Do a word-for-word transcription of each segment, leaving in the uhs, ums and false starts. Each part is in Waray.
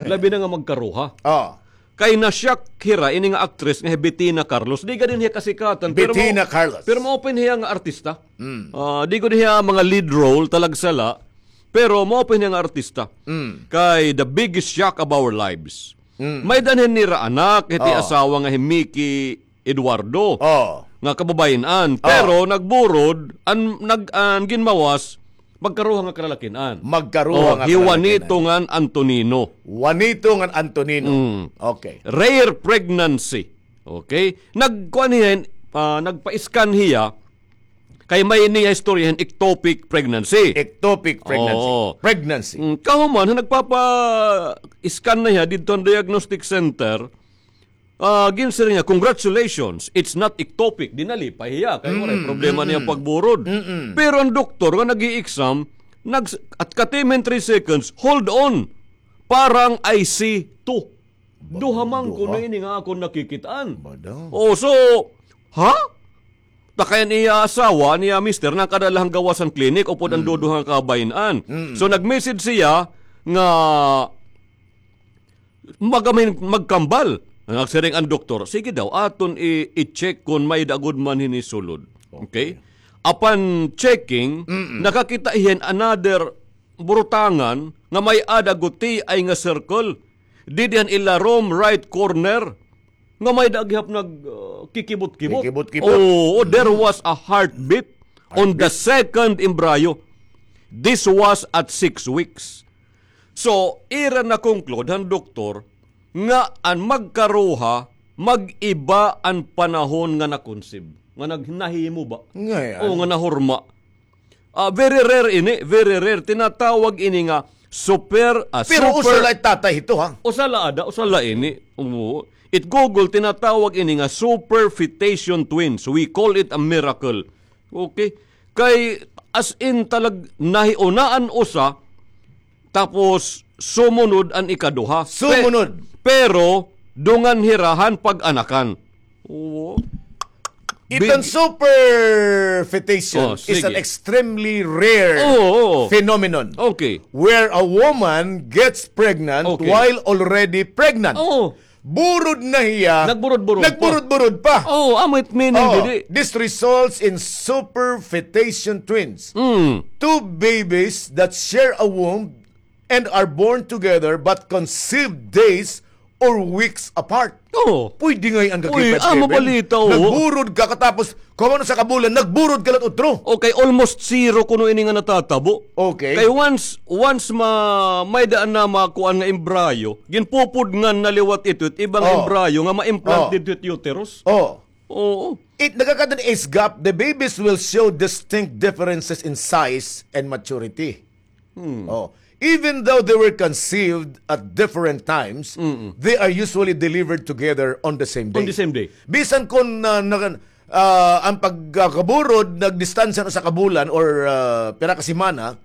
Labi na nga magkaruha. Oh. Kay na-shock hira ini nga actress nga hi Bettina Carlos. Di gad hiya kasikatan, pero Bettina mao, Carlos. Pero mao pa hiya nga artista. Mm. Ah, di gud hiya mga lead role, talagsa la, pero mao pa hiya nga artista. Mm. Kay the biggest shock of our lives. Mm. May-ada na hira anak, hiti asawa nga hi Mickey Eduardo. Oh. Nga kababayin-an. Oh. Pero nagburod, an, nag, an ginmawas, magkaruha nga kalalakin-an. Magkaruha nga kalalakin-an. Oh, hi Juanito ngan Antonino. Juanito ngan Antonino. Mm. Okay. Rare pregnancy. Okay? Nagkuan hiya, ah, nagpa-scan hiya, kay may niya istorya hin ectopic pregnancy. Ectopic pregnancy. Oo. Pregnancy. Mm, kahuman, nagpapa-scan na hiya didto han diagnostic center, ah, ginsiring niya, "Congratulations, it's not ectopic." Di nalipay hiya, kay waray problema niya pagburod. Mm-mm. Pero an doktor nga nag-i-exam, nag-, at katiman three seconds, "Hold on, parang I see two." Duha man kuno ini nga akon nakikit-an. Bada. Oh, so, ha? Ta kay an iya asawa, an iya mister, nakadala han gawas han klinik, upod an duduha nga kababayin-an. Mm. So, nag-message siya nga mag-, magkambal. Nagsiring an doktor, "Sige daw, aton i-, i-check kon may-ada gud man hini sulod." Okay? Okay. Apan checking, nakakita hiya hin another burutangan nga may-ada gutiay nga circle. Didi han ilarom right corner, nga may-ada gihap nag, ah, kikibot-kibot. Kikibot-kibot. Oo, there was a heartbeat on the second embryo. This was at six weeks. So, ira na-conclude han doktor nga an magkaruha, mag-iba an panahon nga na-conceive, nga nag-, nahimo ba? Ngay-an. O, nga nahurma. Ah, very rare ini, very rare. Tinatawag ini nga super, ah, super. Pero usa la it tatay hito, ha? Usa la ada, usa la ini. Oo. It Google, tinatawag ini nga superfetation twins. We call it a miracle. Okay? Kay, as in, talag nahiuna an usa, tapos sumunod an ikaduha. Pe-, sumunod. Pero, dungan hira han pag-anakan. Oo. Iton superfetation is an extremely rare phenomenon where a woman gets pregnant while already pregnant. Oo. Burod na hiya. Nagburod-burod pa. Nagburod-burod pa. Oo, amo it meaning didi. This results in superfetation twins. Mm. Two babies that share a womb and are born together but conceived days or weeks apart. Oo. Pwede ngay-an, kakipay, Kevin. Uy, ah, mabalita, oo. Nagburod ka katapos, kuan, usa ka bulan, nagburod ka la utro. Okay, almost zero kuno ini nga natatabo. Okay. Kay once, once ma-, may daan na makuan nga embryo, ginpupudngan na liwat ito, it ibang embryo nga ma-implant didto it uterus. Oo. Oo. It, nagkakaroon age gap, the babies will show distinct differences in size and maturity. Hmm. Oh. Even though they were conceived at different times, mm-mm, they are usually delivered together on the same day. On the same day. Bisan kon na, na, ah, an pagkakaburod, nagdistansya na usa ka bulan or, ah, pira ka semana,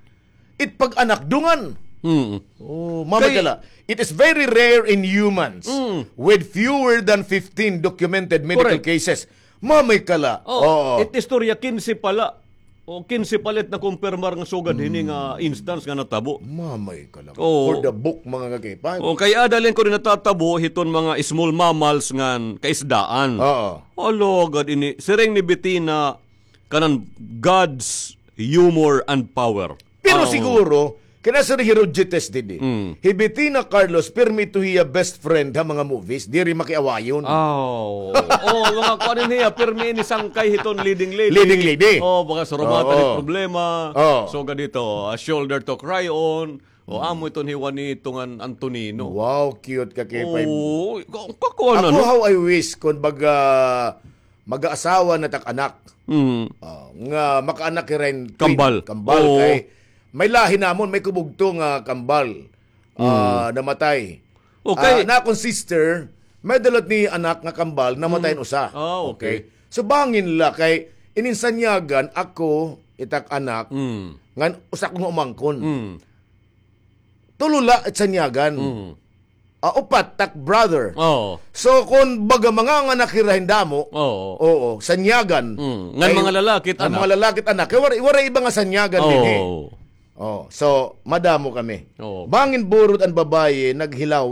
it pag-anak dungan. Mm. Oh, mamay ka la. It is very rare in humans, mm, with fewer than fifteen documented medical cases. Correct. Mamay ka la. Oh, oo. It istorya, kinse pa la. O, kinse pa la it nakumpirmar nga sugad hini nga instance nga natabo. Mamay ka la. Oo. For the book, mga kakipay. O, kay ada la ini kuno natatabo hiton mga small mammals ngan kaisdaan. Oo. Alagad ini, siring ni Bettina, kanan God's humor and power. Pero siguro, kay nasiring hi Roger Test didi, mm, hi Bettina Carlos, pirmi ito hiya best friend ha mga movies, diri makiawayon. Aw. Oh, mga kuan hiya, pirmi ini sangkay hiton leading lady. Leading lady. Oh, baka surumatan it problema. Oh. So, ganito, a shoulder to cry on. O, amo iton hi Juanito ngan Antonino. Wow, cute, kakipay. Oh, ka-, kakuan na, no? Ako, how I wish, kun baga, mag-aasawa na tak anak. Mm. Ah, nga makaanak hira hin twin. Kambal. Kambal. Oo. Kay may lahi namon, may ko bugto nga kambal. Ah, namatay. Okay. Ah, an akon sister, may-ada la ini anak nga kambal, namatay an usa. Ah, okay. Okay. So, bangin la kay ini sanyagan, ako, it ak anak, mm, ngan usa ko nga umangkon. Mm. Tulo la it sanyagan. Mm. Ah, upat tak brother. Oo. So, kun baga manganganak hira hin damo, oo, sanyagan. Mm. Ngan mga lalaki it anak. Ngan mga lalaki it anak. Kay waray, waray iba nga sanyagan dinhi. Oo. Oh, so, madamo kami. Oo. Bangin burod an babaye, naghilaw